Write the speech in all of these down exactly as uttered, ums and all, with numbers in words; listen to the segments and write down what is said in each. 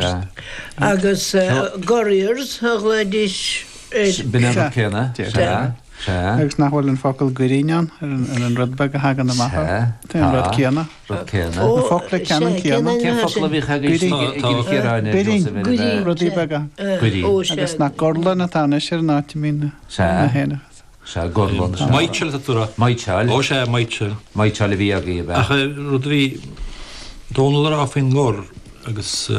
Sea. Agus Gurriers a ghlaoidís ar. B'in an rud céanna. Sea. Sea. Agus nach bhfuil an focal goirín ann ar an ar an rud beag a thagann amach Sea. Tá an rud Tá. céanna. Rud céanna. Na focla ceannann céanna. Cén focal a bhíodh agaibh i gCill Chiaráin, a Birín. Joseph, ar a bheith? Rudaí beaga. Goirín. Agus nach gorlann atá anois ar an áit a mbíonn na Sea. na héanacha. Sea, gorlann, sea. Maíteáil atá tú a rá. Maíteáil. Ó sea, maíteáil. Maíteáil a bhí agaibh, ab ea? Ach rud a bhí Dónal a rá faoin ngor agus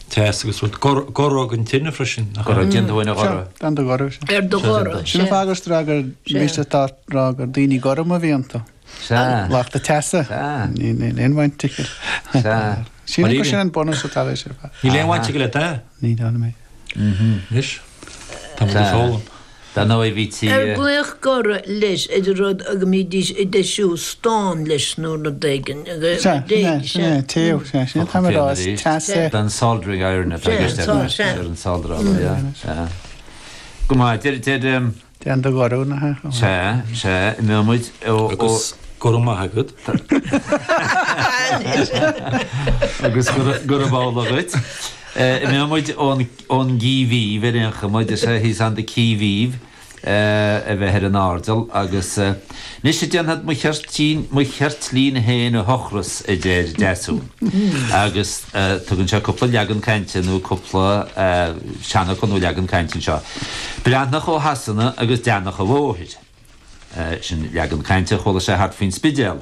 teas agus rud, goradh an tine freisin, nach ea? Goradh, déan tú ina ghoradh. Sea, déan do ghoradh, sea. Ar do ghoradh, Sin an sea. fáth gur rá gur bhí atá rá gur daoine gorma a bhí iontu. Sea. Lucht an teasa. Sea. Níl aon bhaint aige. Sea. Sílim gur sin an bunús atá leis ar fad. Níl aon bhaint aige le dath. Ní dóigh liom é. Anois, tá muid ag foghlaim. Dar ndóigh bhí tí. Ar glaodh goradh leis ar an rud a go mbídís ag deisiú stán leis nó rud éigin? Sea, sin é, sin é, téamh, sea, sin é atá mé a rá, is teas é. Den soldering iron atá i gceist ar an soldráil, yeah, sea. Go maith, deir, deir. Déan do ghoradh, nach ea? Sea, sea, imeoidh muid ó, ó. Agus go raibh maith agat. Agus gurab amhlaidh dhuit. Imeoidh muid ón, ón gCí Mhíbh ar aon chuma, deir sé he's on the qui vive a bheith ar an airdeall agus anois déanfad mo cheirtlín, mo cheirtlín féin a thochras, a deir Deasún. Agus tugann sé cúpla leagan cainte nó cúpla seanfhocal nó leagan cainte anseo. Breathnach ó Shasana agus deannach an bhóthair. Sin leagan cainte a chuala sé thart faoin Spidéal.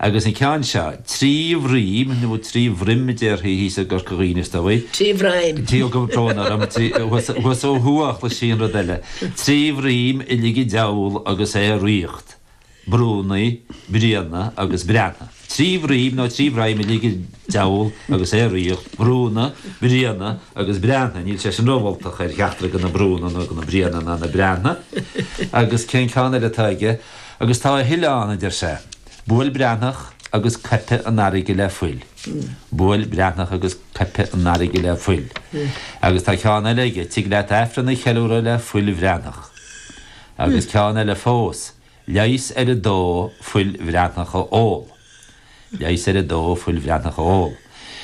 Agus an ceann seo, trí bhroim, nó trí bhroim a déarfaí thíos i gCorca Dhuibhne is dóigh. Trí bhroim. Trí, ó, gabh brón orm, trí, thuas ó thuaidh a chloisfí an rud eile. Trí bhroim a lig an diabhal agus é a ritheacht, Brúnna, Bríona agus Breatna. Trí bhroim nó trí bhroim a lig an diabhal agus é a ritheacht, Brúnna, Bríona agus Breatna. Níl sé sin rómholtach ar cheachtar de na Brúnna nó de na Bríona ná na Breatna. Agus cén ceann eile atá aige? Agus tá a thuilleadh ann, a deir sé. Buail Breathnach agus coipfidh an fharraige le fuil. Buail Breathnach agus coipfidh an fharraige le fuil. Agus tá ceann eile aige, Tig leat Aifreann a cheiliúradh le fuil Bhreathnach. Agus ceann eile fós, Leigheas ar a dó fuil Bhreathnach a ól. Leigheas ar a dó fuil Bhreathnach a ól.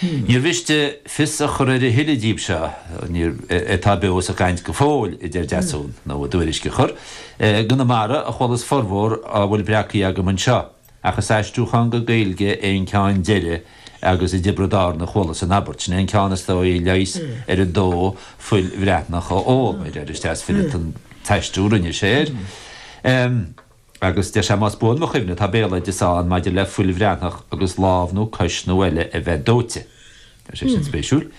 Níor mhiste fios a chur ar a thuilleadh díobh seo, níor, atá beo sa chaint go fóill, a deir Deasún, nó a dtuairisc a chur. I gConamara a chualas formhór á bhfuil breactha agam anseo, ach is aistriúchán go Gaeilge é an ceann deiridh agus i dTiobraid Árann a chualas an abairt. Sin é an ceann is dóigh, leigheas ar a dó fuil Bhreathnach a ól, mar a deir, is deas fileata an t-aistriú a rinne sé air. Agus deir sé, más buan mo chuimhne, tá béaloideas ann maidir le fuil Bhreathnach agus lámh nó cois nó eile a bheith dóite. Tá sé sin spéisiúil.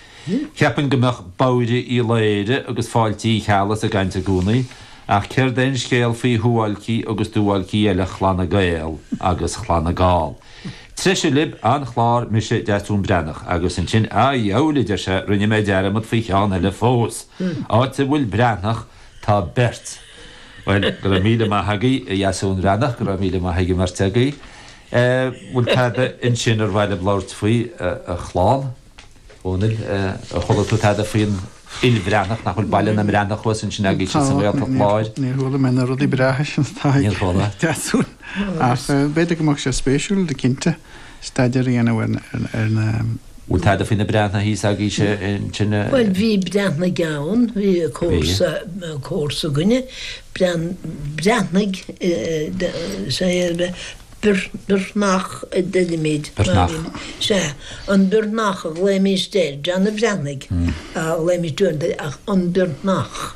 Cheapfainn go mbeadh bodhaire Uí Laoghaire agus fáilte Uí Cheallaigh sa gcaint i gcónaí, ach céard é an scéal faoi shuáilcí agus duáilcí eile Chlanna Gael agus Chlanna Gall? Treise libh, an-chlár, mise Deasún Breathnach, agus ansin, a dheabhail, a deir sé, rinne mé dearmad faoi cheann eile fós. Áit a bhfuil Breathnach, tá beirt. Bhuel, go raibh míle maith agaibh, a Dheasúin Bhreathnach, go raibh míle maith ag an mbeirt agaibh. Bhfuil tada ansin ar mhaith libh labhairt faoi, a chlann? Dhónaill, ar chuala tú tada faoin Fhuil Bhreathnach, nach bhfuil Baile na mBreathnach thuas ansin agaibhse sa Ghaeltacht Láir? Níor chuala mé na rudaí breátha sin atá ag Deasún, ach b'fhéidir go mbeadh sé spéisiúil, cinnte, staidéar a dhéanamh ar na. Bhfuil tada faoi na Breathnaigh thíos agaibhse ansin? Bhuel, bhí Breathnaigh ann, bhí comharsa, comharsa againne, Breathnaigh, sea, Birthnach a deirimid. Birthnach. Sea, an Birthnach a ghlaoimíst air, John a' Bhreathnaigh a ghlaoimíst uaireanta ach an Birthnach.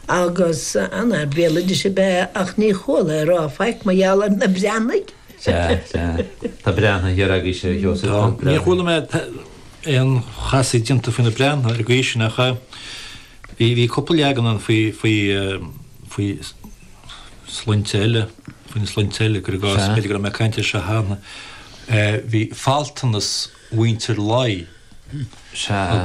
Agus an-fhear béaloidis ab ea é ach ní chuala é ag rá faic mar gheall ar na Breathnaigh. Sea, sea. Tá Breathnaigh thiar agaibhse, a Sheosaimh, tá Tá. Níor chuala mé aon chasaoid déanta faoi na Breathnaigh ar an gcaoi sin ach bhí, bhí cúpla leagan ann faoi, faoi, faoi sloinnte eile, faoi na sloinnte eile, cuir i gcás, Sea. b'fhéidir go raibh mé ag caint air seo cheana, bhí faltanas mhuintir Laoi Sea.